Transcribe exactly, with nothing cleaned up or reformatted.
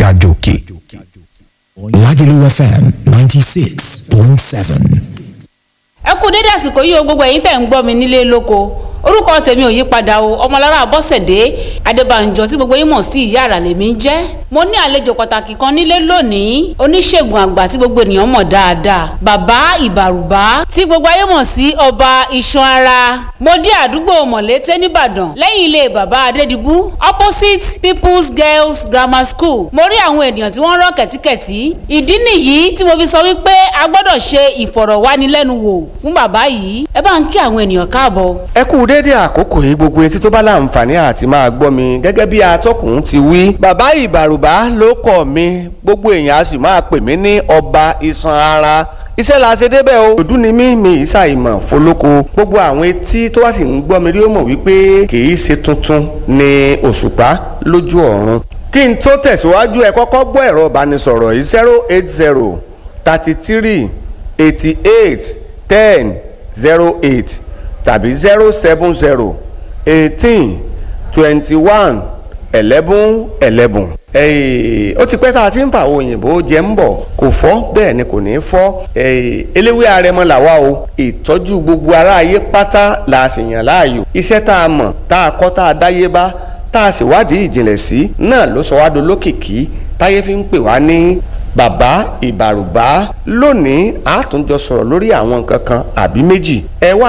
Ga jòkè. Lagelu F M ninety six point seven. Ẹ kú dédé àsìkò yìí o, gbogbo ẹ̀yin tẹ̀ ń gbọ́ mi nílé lóko. Orúkọ tèmi ò yí padà o, Ọmọlára Bọ́sẹ̀dé Adébànjọ tí gbogbo yín mọ̀ sí Ìyá Àrà lèmi ń jẹ́. Mo ní àlejò pàtàkì kan nílé lónìí, oníṣègùn àgbà tí gbogbo ènìyàn mọ̀ dáadáa, Bàbá Ìbàrùbá tí gbogbo ayé mọ̀ sí Ọba Iṣan Ara. Mo dé àdúgbò Mọ̀lété nìbàdàn, lẹ́yìn ilé Bàbá Adédìbú, opposite People's Girls Grammar School. Mo rí àwọn ènìyàn tí wọ́n rán kẹ̀tíkẹ̀tí. Ìdí nìyí tí mo fi sọ wípé a gbọ́dọ̀ ṣe ìfọ̀rọ̀wánilẹ́nuwò fún bàbá yìí. Ẹ bá ń kí àwọn ènìyàn káàbọ̀. Ẹ kú déédé àkókò yìí, gbogbo etí tó bá láǹfààní àti máa gbọ́ mi. Gẹ́gẹ́ bí atọ́kùn ti wí, Bàbá Ìbàrùbá ló kọ̀ mí, gbogbo èèyàn a sì máa pè mí ní Ọba Iṣan Ara. Iṣẹ́ la ṣe débẹ̀ o. Òdú ni mí, mi ìsà ìmọ̀ fọlọ́kọ. Gbogbo àwọn etí tó wá sì ń gbọ́ mi rí ó mọ̀ wípé kì í ṣe tuntun ni òṣùpá lójú ọ̀run. Kí n tó tẹ̀síwájú, ẹ kọ́kọ́ gbọ́ ẹ̀rọ ìbánisọ̀rọ̀ yìí: zero eight zero thirty three eighty eight ten zero eight tàbí zero seven zero eighteen twenty one eleven eleven. Ó ti pẹ́ tá a ti ń fa àwọn òyìnbó jẹ ń bọ̀, kò fọ́, bẹ́ẹ̀ ni kò ní í fọ́. Eléwé arẹmọ làwa o. Ìtọ́jú gbogbo aráyé pátá la sì yàn láàyò. Iṣẹ́ tá a mọ̀, tá a kọ́, tá a dáyé bá, tá a sì wádìí ìjìnlẹ̀ sí náà ló sọ wá dolókìkí táyé fi ń pè wá ní Bàbá Ìbàrùbá. Lónìí, a tún jọ sọ̀rọ̀ lórí àwọn nǹkan kan àbí méjì. Ẹ wá.